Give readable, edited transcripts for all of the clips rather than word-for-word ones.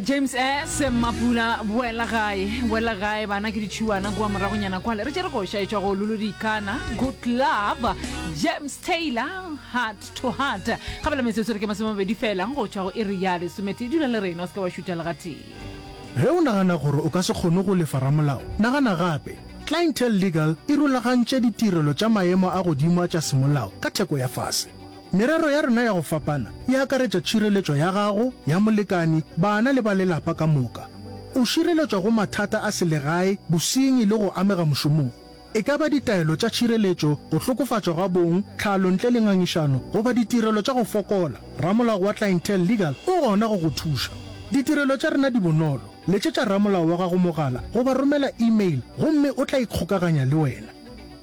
James S. Mapula, Boela gae, boela gae, bana ke ditšhuana kua moragonyana kwale. Re tšere koša e tšwa go Lulu Dikana, Good Love, James Taylor, Heart to Heart. Gabela metsotso re ke masomemabedi fela go tšwa go iri ya lesometee. Dula le rena, o se ke wa šutha le gatee. Ge o nagana gore o ka se kgone go lefa ramolao, nagana gape. Clientele Legal e rulagantše ditirelo tša maemo a godimo a tša semolao ka theko ya fase. Merero ya rena ya go fapana e akaretša tšhireletšo ya gago, ya molekani, bana le ba lelapa ka moka. O šireletšwa go mathata a selegae, bosenyi le go amega mošomong. E ka ba ditaelo tša tšhireletšo, go hlokofatšwa ga bong, tlhalo ntle le ngangišano, goba ditirelo tša go fokola, ramolao wa Clientele Legal o gona go go thuša. Ditirelo tša rena di bonolo, letšetša ramolao wa gago mogala goba romela email gomme o tla ikgokaganya le wena.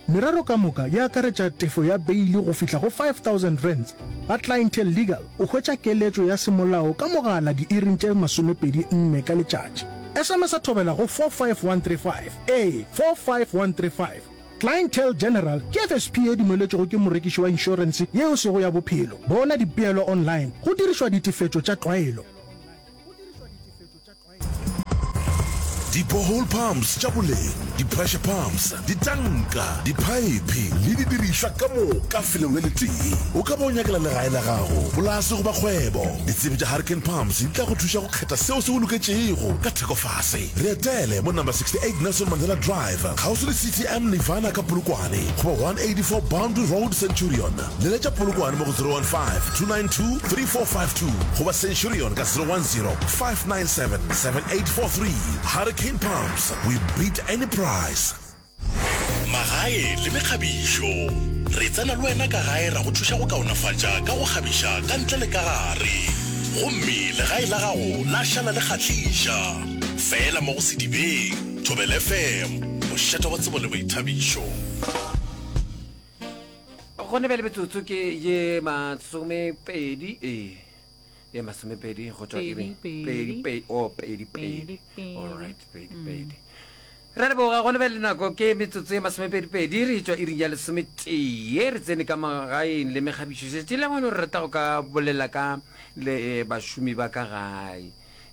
Merero ka moka e akaretša tefo ya beili go fihla go R5000. Ga Clientele Legal o hwetša keletšo ya semolao ka mogala diiring tše 24 ka letšatši. SMS-a thobela go 45135, ee, 45135. Clientele General ke FSP ye dumeletšwego ke morekiši wa inšorense ye e sego ya bophelo. Bona dipeelo online go dirišwa ditefetšo tša tlwaelo. Di-borehole pumps tša boleng, di-pressure pumps, ditanka, diphaephe le didirišwa ka moka felong le letee. O ka ba o nyakela legae la gago, polase goba kgwebo. Ditsebi tša Hurricane Pumps di tla go thuša go kgetha seo se go loketšego ka theko fase. Re etele mo number 68 Nelson Mandela Drive, kgauswi le CTM Nirvana ka Polokwane goba 184 Boundary Road, Centurion. Leletša Polokwane mo go 015-292-3452 goba Centurion ka 010-597-7843. Hurricane Pumps, we beat any price. Magae le mekgabišo. Re tsena le wena ka gae ra go thuša go kaonafatša ka go kgabiša ka ntle le ka gare. Gomme legae la gago la šala le kgahliša. Feela mo go Sedibeng, Thobela FM, mošate wa tsebo le boithabišo. Gone bjale metsotso ke ye masomepedi, ee, ye masomepedi go tšwa iri pedi, pedi, oh, pedi, pedi, all right, pedi, pedi. Re leboga gone bjale nako ke metsotso ye masomepedi-pedi re tšwa iring ya lesometee re tsene ka magaeng le mekgabišo šetše le gone re rata go ka bolela ka le eh, bašomi ba ka gae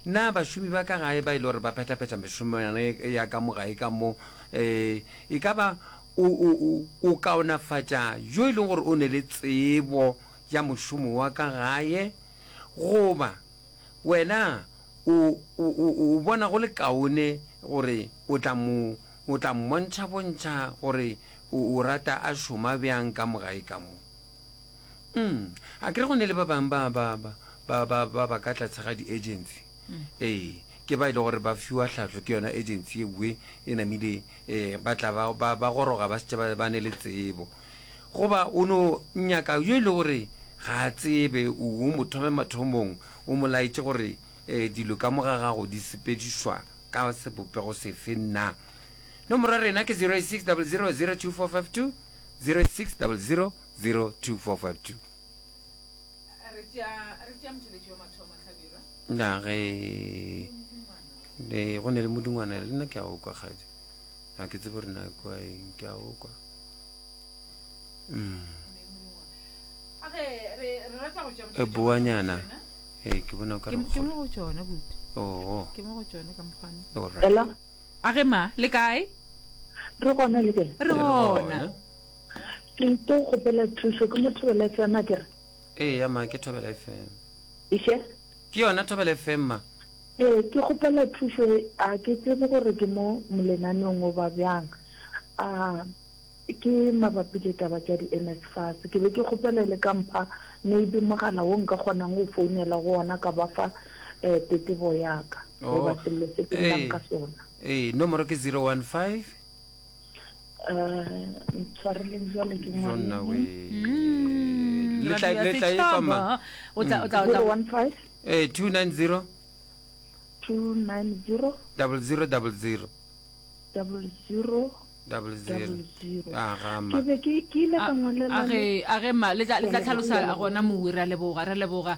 na bašomi ba ka gae ba e le gore ba phetha-phetha mešomo ya ka mo gae ka mo um e ka ba O, o, o, o kaonafatša yo e leng gore o ne le tsebo ya mošomo wa ka gae, goba wena o, o, o, o bona go le kaone gore o tla mo, o tla mmontšha-bontšha gore o, o rata a šoma bjang ka mo gae ka mo. Mm, a ke re go ne le ba bangwe ba, ba, ba, ba, ba, ba, ba ka tlase ga di-agency. Ee, ke ba e le gore ba fiwa tlhahlo ke yona agency ewe e namile Ee, ba tla ba, ba, ba goroga ba šetše ba, ba ne le tsebo. Goba o no nyaka yo e le gore ga a tsebe, o, o mo thome mathomong, o mo laetše gore e, dilo ka mo ga gago di sepedišwa ka sebopego sefe na. Nomoro ya rena ke 086 00 02452, 086 00 02452. Re tšea, re tšea motheletši wa mathomo, Hlabirwa. Na ge le go ne le modingwana le nna ke a o kwa kgadi. Ga ke tsebe gore na kwa eng ke a o kwa. Mm. A ge re re rata go tšea E motheletši wa mathomo boanyana. rena. Ee ke bona o ka Ke re ke mo go tšona buti. Oh. Ke mo go tšona ka mokgwane. All right. Hello? A ge ma, le kae? Re gona le kae? Re gona. Ke tlo kgopela thušo ke mo Thobela FM a kere? Eya ma ke Thobela FM. Iše? Ke yona Thobela FM ma. Ee ke kgopela thušo a ke tsebe gore ke mo molenaneong goba bjang. A ke mabapi le taba tša di NSFAS. Ke be ke kgopela le ka mpha maybe mogala wo nka kgonang go founela go ona ka ba fa eh, tetebo ya ka goba Oh. sello se ke llang Ee. ka sona. Ee, nomoro ke 015 Eh, ntshwareleng jwale ke Jonna we. Mm, Le tla radio ya le tla e kwa ma. setšhaba. O tla o tla o tla 015 Eh 290 290 00 00 00 00. 00 Ah ga ke ma. be ke ke ile ka ngwalela a ge a ge ma le tla le tla Ke a tlhalosa leboga. gona mowe re a leboga re a leboga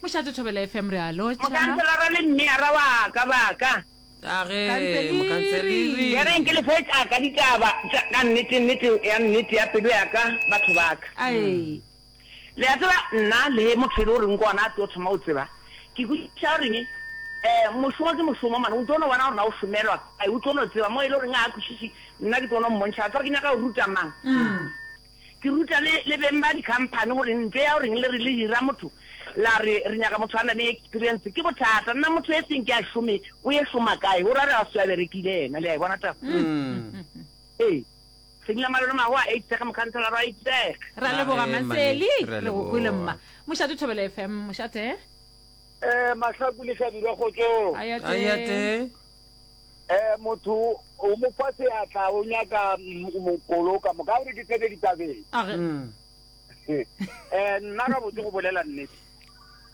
mošate thobela fm re a lotšha Mokanselara le mmeara wa ka ba ka. A ge, mokanseliri. Ya reng ke le fe tša ka ditaba tša ka nnete, nnete ya nnete ya pelo ya ka, batho ba ka. Ai. Le a tseba, nna le motho e le goreng ke gona a tlo thoma go tseba, ke kwešiša goreng. Um mošomo ke mošomo man, o tlo no bona gore na o šomelwa kae, o tlo no tseba mo e le goreng ga a kwešiše, nna ke tlo no mmontšha, wa tseba ke nyaka go ruta mang? Ke ruta le, le beng ba di-company gore ntho ya goreng le re le hira motho la re re nyaka motho a na le experience ke bothata. Nna motho e seng ke a šome, o ye šoma kae? O ra re a se a berekile yena, le a e bona taba? Ee. Sengla Malome Mahoa a itsege mokhanselara wa itsege. Ra leboga Maseli, re go kwele mma. Mošate Thobela FM, mošate. Eh Mahlaku le Hlabirwa kgotsong. Ayate. Eh motho o mo fa seatla o nyaka mokolo ka moka gore ke tsene ditabeng. Mm. Eh nna ga botse go bolela nnete.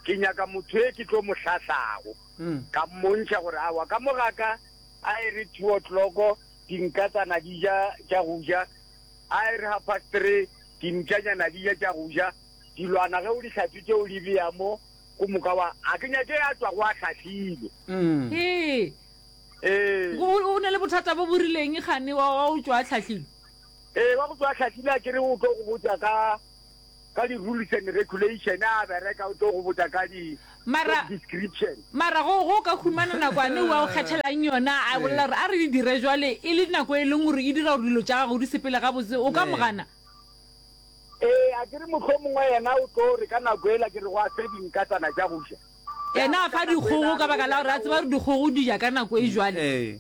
Ke nyaka motho e ke tlo mo hlahlago. Mm. Ka mmontšha gore awa ka mo gaka a e re 2 o'clock dinkatsana di ja tša go ja a e re half past 3 dintšanyana di ja tša go ja dilwana ge o di hlatswitše o di bea mo go moka wa a ke nyake a tšwa go a hlahlile. Mm. Ee. Ee. O na le bothata bo bo rileng gane wa wa o tšwa a hlahlile? Ee, wa go tšwa a hlahlile a kere o tlo go botša ka ka di rules and regulation a bereka o tlo go botša ka di Mara description. Mara go go ka humana nakwane wa o kgethelang yona a bolela gore a re di dire jwale e le nako e leng gore e dira gore dilo tša gago di sepele gabotse o ka mo gana? Ee, a ke re mohlomongwe yena o tlo re ka nako ela ke re go a fe dinkatsana tša go ja. Yena a fa dikgogo ka baka la gore a tseba gore dikgogo di ja ka nako e jwale. Ee.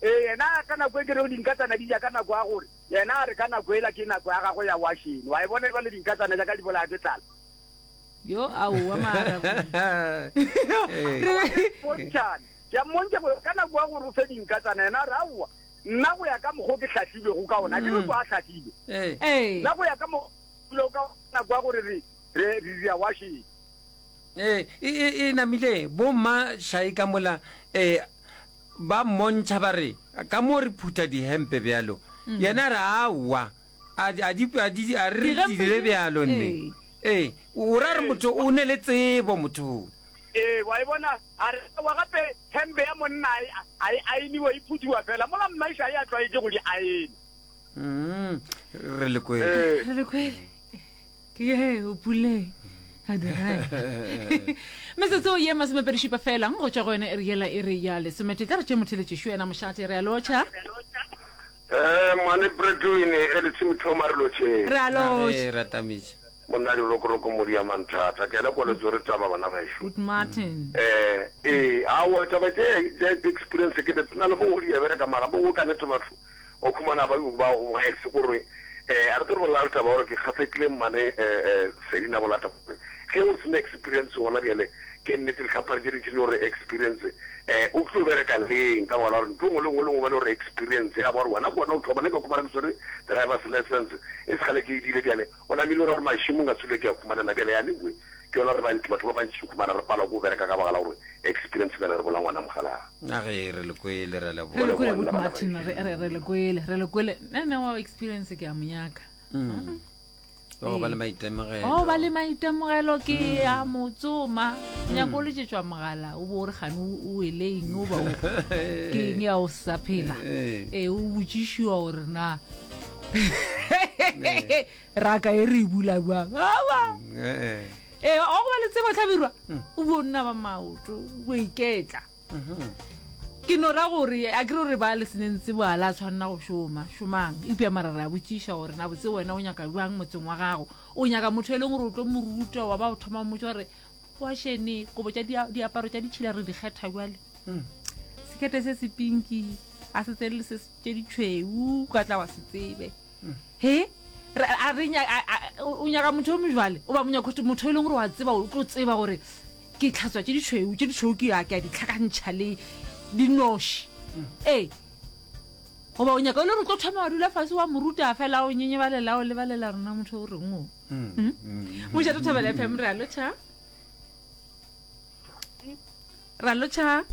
Ee, yena ka nako e ke rego dinkatsana di ja ka nako ya gore, yena a re ka nako ela ke nako ya gagwe ya washene. Wa e bona jwale dinkatsana tša ka di bolaya ke tlala. Yo, aowa mara. Bontšhane. Ke a mmontšha gore ka nako ya gore o fe dinkatsana, yena a re aowa. Nna go ya ka mokgwa o ke hlahlilwego ka ona, ke re kwa a hlahlilwe. Ee. Nna go ya ka mokgwa o ke ka ona kwa gore re re re dira washing. Ee, e, e, e namile bomma šai ka mola eh, ba mmontšha ba re ka mo re phutha dihempe bjalo mm. yena a re aowa a a di a di a re Dihempe dire di- bjalo nne ee o ra re motho o ne le tsebo motho Ee, wa e bona A re, Aowa, gape hempe ya monna a e aeniwe, e phuthiwa fela, mola mmaiša a tlwaetše go di aena. Mm, re le kwele. Re le kwele. Ke ye o puleng. A dira. Metsotso ye masomepedišupa fela go tšwa go yone e re yela e re ya lesomete. Tla re tše motheletšešo yena mošate re a lotšha. Eh, mane Bretwin e le tshimithoma re lotšheng. Re a lotšha. Re ratamiša. Monna Dirokoroko Modia Manthata, ke a le kwa le tswere taba bana bešo. Good Martin. Eh, ee, aowa taba tše tša experience ke na le bongwe di a bereka mara bongwe ka nete batho o khumana ba ba ba ex gore eh a re tlo bolela taba gore ke kgahlekile mmane eh eh Selina bolata gore ge o sena experience gona bjale ke nnete dikhamphani tše dintši di gore experience eh o tlo bereka leng ka baka la gore ntho nngwe le nngwe le nngwe ba le gore experience ya ba gore wena ke wena o thoma ne ka khumana ke swere driver's license e sekgale ke e dile bjale O namile o ra gore mašemong a tswile ke a khumanela bjale anyway ke yona re bantši batho ba bantši khumana re palwa ke go bereka ka baka la gore experience bjale re bola ngwana mogalaa. A ge re le kwele re Re le leboga. kwele Good Martin re re re le kwele re le kwele nna nna wa experience ke a mo nyaka. Mm. Wa go ba le maitemogelo. O ba le maitemogelo ke a mo tsoma. Nyako o letšetšwa mogala o bo o re gane o wele eng o ba o ke eng ya o sa phela. Ee o botšišiwa gore na raka e re e bula bjang awa Eh, ee wa go ba le tsebo tlhabirwa o bo nna ba maoto o iketla ke no ra gore a kere gore ba le seneng tsebo a la tshwanela go šoma šomang eupša mara re a botšiša gore na botse wena o nyaka bjang motseng wa gago o nyaka motho e leng gore o tlo mo ruta wa ba o thoma mmotsa gore wašene kobo tša diaparo tša ditšhila re di kgetha bjale sekete se se pinki a se tsene le se tše ditšhweu ka tla wa se tsebe he a re o nyaka motho yo mojwale o ba monyaka motho e leng gore wa tseba o tlo tseba gore ke tlhatswa tše ditšhweu tše ditšhweu ke ya ke a di tlhakantšha le dinoši ee goba o nyaka o le gore o tlo thoma wa dula fase wa moruta fela o nyenyebalela o lebalela rena motho o reng o hmm? mošate thobela fm re a lotšha ra lotšha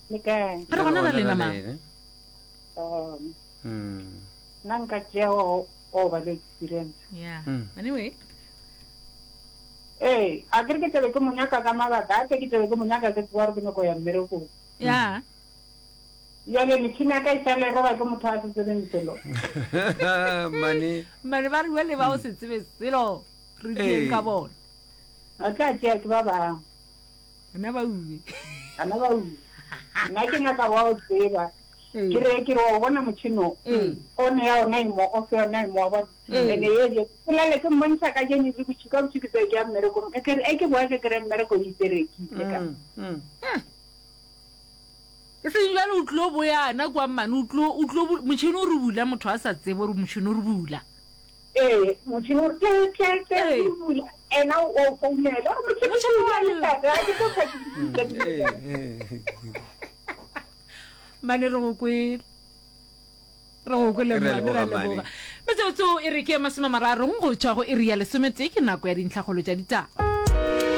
Le kae? Re gona ra lena ma. Um, nna nka tšea o o ba le experience. Yeah. Anyway. Ee, a ke re ke tlabe ke mo nyaka ka mabaka, gape ke tlabe ke mo nyaka ke tseba gore ke nyako ya mmerekong. Yeah. Bjale metšhini ya ka e šale e roba ke motho a se tsebeng selo. Mane. Mane ba re bjale ba o se tsebe selo re dieng ka bona. Ba tla tšea ke ba bangwe. Nna ba ube. Bana ba ula. Nna ke nyaka wa o tseba. Ke re ke re wa bona motšhene o. On ya ona e mo, off ya ona e mo, wa bona. Ene ye je. Ke lale ke mmontšha ka jeno le botšhi ka botšhi ke tse ke ya mmerekong. E ke re e ke boa ke kry mmereko o iperekile ka. E seng jwale o tlo boyana kwa mmane o tlo o tlo motšhene o re bula motho a sa tsebe gore motšhene o re bula. Ee, motšhene o re tle tle tle o bula ena o founela o re motšhene o bula le tate a ke tlo Mmane re go kwele. Re go kwele Re a mmane re a leboga, mmane. leboga. Metsotso e re ke masome mararong go tšwa go iri ya lesometee ke nako ya dintlhakgolo tša ditaba.